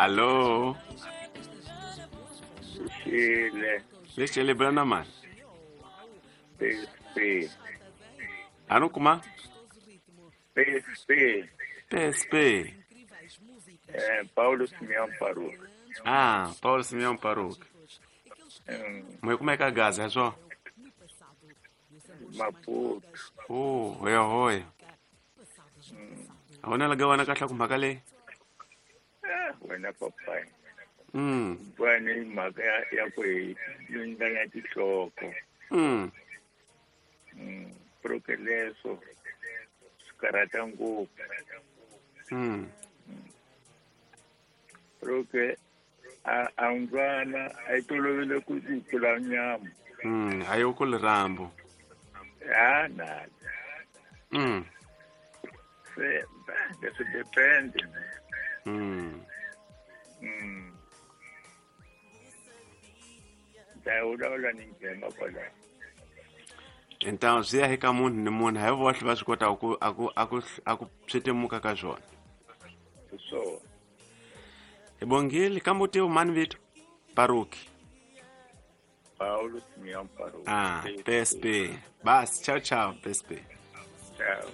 Alô? Xile. Lexi le bula na mani? PSP. A no kuma? PSP. PSP. É, Paulo Simeão Paruca. Ah, Paulo Simeão Paruca. Mas como é que a gaza, é só? Maputo. Oh, hoya hoya. A wena laga wena kahle ku mhaka leyi? Ah, wena papai. Bwani mhaka ya ku hi lunganya tinhloko. Porque leswo swi karhata ngopfu. Porque a mbyana a yi tolovele ku kula nyama. A yi ku lirambo. Ha na. Se leswi depend. Ta vulavula ni nghena kwalaho. Então swi ya eka munhu ni munhu hi vohle va swi kotaka ku a ku a ku a ku swi temuka ka swona. So hi bongile kambe u tiva mani vito? Paruki. Paulo Simeão Paruki. Ah, PSP. Bas, tchau tchau, PSP. Tchau.